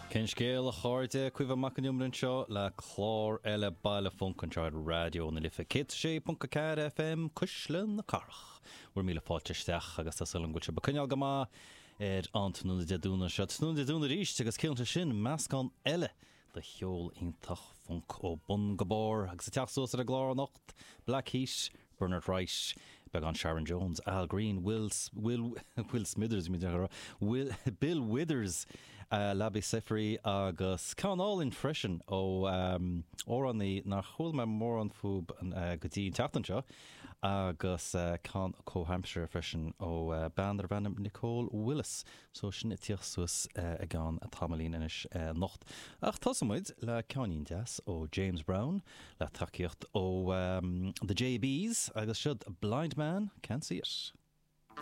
Cén scéal, a chairde? Caoimhe Mac an Iomaire anseo le clár eile Baile Func anseo ar Raidió na Life 106.4 FM, Cuisle na Cathrach. Bhur míle fáilte isteach agus tá súil agam go bhfuil sibh ag coinneáil go maith ar an tráthnóna Dé Domhnaigh seo. Tráthnóna Dé Domhnaigh arís agus ciallaíonn sé sin meascán eile de cheol iontach func ó bun go barr agus ag teacht suas ar an gclár anocht, Black Heat, Bernard Wright, beagán Sharon Jones, Al Green, Will, Will, Will Smithers, bhí mé ag rá, Will, Bill Withers, Labi Siffre agus ceann álainn freisin ó amhránaí nár chuala mé mórán fúb go dtí an tseachtain seo agus ceann comhaimseartha freisin ó bean darb ainm Nicole Willis. So sin ag tíocht suas i gceann tamaillín anois anocht. Ach tosóidh muid le ceainnín deas ó James Brown le tacaíocht ó The JBs agus siod Blind Man Can't See It.